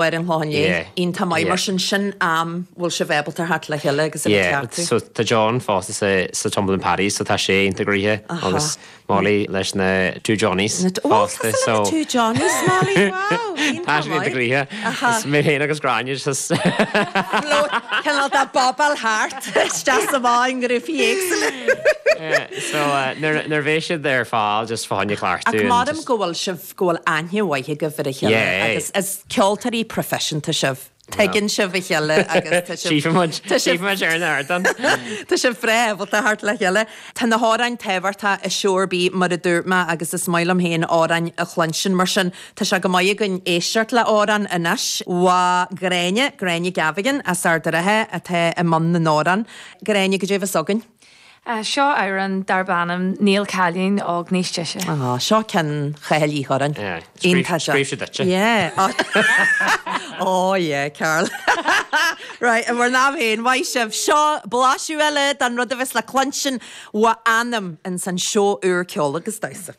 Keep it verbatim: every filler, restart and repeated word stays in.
Ar an Chlochán Liath. Iontach maith mar sin sin am bhfuil sibh ábalta theacht le chéile agus a Yeah, bheith ceartú. so tá John fosta sa sa Tumblin' Paddies so tá sé iontach gnoitheach agus Molly leis na Two Johnnies Ó tá na Two Johnnies Molly wow Tá sé iontach gnoitheach. Is mé féin agus Gráinne just Cineál de bobáil thart isteach sa bhá i ngrúpaí éagsúla. So uh, nuair nuair bheidh siad ar fáil just fá choinne cleachtadh Ach and maram just- go bhfuil sibh go bhfuil aithne mhaith agaibh ar a chéile Yeah. agus is ceoltóirí proifisiúnta sibh. Tuigeann sibh a chéile agus tá sibh- Sífimid tá sibh- sífimid ar an ardán. Tá sibh breá ábalta theacht le chéile. Tá na hamhráin tábhachtach i seó ar bith mar a dúirt mé agus is maith liom féin amhráin a chluinstin mar sin tá sé go maith againn éisteacht le amhrán anois ó Ghráinne, Gráinne Gavigan as Ard an Rátha atá i mbun na n-amhrán. Gráinne goidé a bheas againn. Uh, seo amhrán darb ainm Níl Cailín Óg Níos Deise. Ah, seo ceann Chathail Uí Churráin. Yeah, Iontach seo. Scríobh sé duitse. Yeah. Oh yeah, Carl. right, an bhur n-am féin, mhaith sibh seo blaiseadh eile den rud a bheas le cluinstin ó Anam in san seó úr ceol agus damhsa.